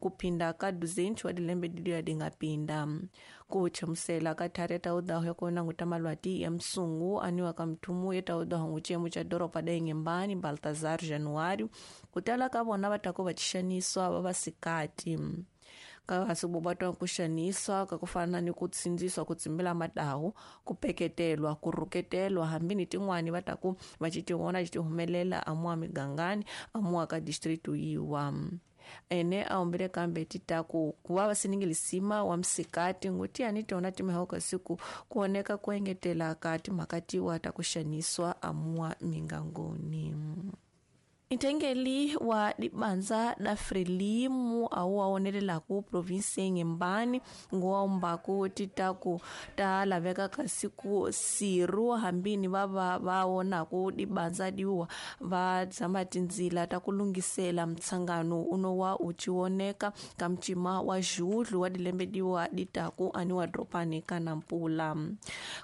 Ku phinda ka 200 wa dilembe didiya di nga pinda. Ku chamusela ka thari ya taudaho ya ku languta malwati ya msungu aniwa ka mthumu ya taudaho ngu xiyemo xa doroba da Inhembane Baltazar Januário ku tala ka vona va ta ku va xaniswa va vasikati. Kasi vobatwa ku xaniswa ka ku fana ni ku tsindziswa ku tsimbela madahu ku peketelwa ku rhuketelwa hambi ni tin'wani va ta ku va ci ti vona ci ti humelela amuwa migangani amuwa ka district yiwa. Ene a humbile kambe ti ta ku ku va va siningilisima wa msikati nguti yani tona timhaka kasi ku ku oneka ku engetela ka timhaka tiwa ta ku xaniswa amuwa mingangoni. Nthengeli wa dibanza da Frelimu awu awonelelaku provinsi ya Inhembane nguwaumbaku titaku ta laveka kasi ku siru hambini va va va wonaku dibanza diwa va dzama tindzila ta ku lunghisela mtshangano uno wa u cioneka ka mcima wa Julho wa dilembe diwa ditaku ani wa dropani ka Nampula.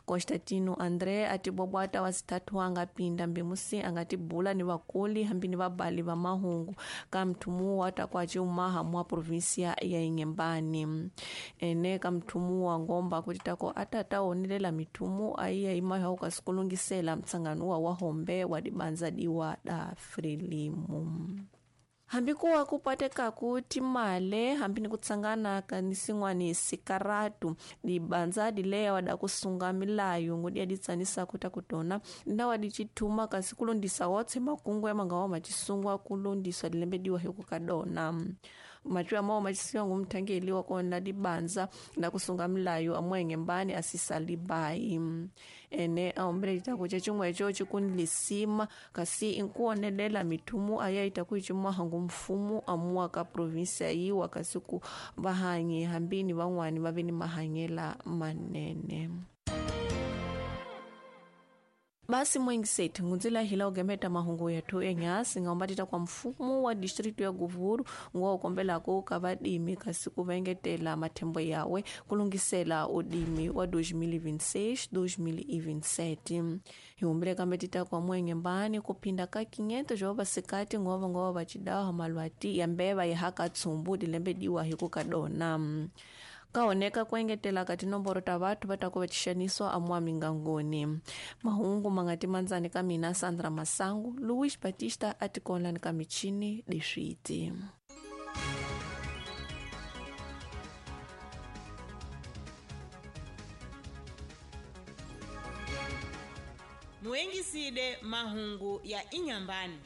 Constantino André a tibobwata wa sithathu a nga pinda mbimusi a nga tibula ni vakuli hambi ni vabali va mahungu ka mthumu wa ta kwa ciumaha mwa provinsia ya Inhembane. Ene ka mthumu wa ngomba kuti tako atata onelela mithumu aiya imayo kasi kulungisela mtsangano wa hombe wa dibanza diwa da Frelimu. Hambi kuwa kupatekaku timale hambi ni kutsangana ka nisin'wani sikaratu dibanza dileya wada kusunga milayo ngudi aditsanisa kuta kutona nda wadicithuma kasi kulondisa wotse makungu ya mangawa macisungwa kulondiswa dilembe diwa hiku kadona macu amawo macisiwa ngumthangeli wakona dibanza na kusunga milayo amwenge asisalibai ene aombele citaku cecimweco cikunlisima kasi inkuonelela mithumu ayaita kuicimaha mfumo amuwa ka provinsia yiwa kasi ku vahanyi hambini van'wani va ve ni mahanyela manene. Basi mwengisethi ngunzila hila ugemeta mahungu yathu enyasi ngaumbatita kwa mfumo wa district ya Govuru nguwa ukombelako ka vadimi kasi ku vengetela mathembo yawe kulungisela udimi wa 2026-2027. Hiumbile kambetita kwa Mwenghembane kuphinda ka 500 jwa vasikati ngova ngova vacidawa malwati ya mbeva yehaka tsumbu dilembe diwa hiku kadona. Kaoneka kuengetela ka tinomboro ta vathu va ta ku va xaniswa amuwa mingangoni. Mahungu mangati mandzani ka mina Sandra Masangu, Luis Batista a tikonlani ka michini leswiti. Muengiside mahungu ya Inhambane.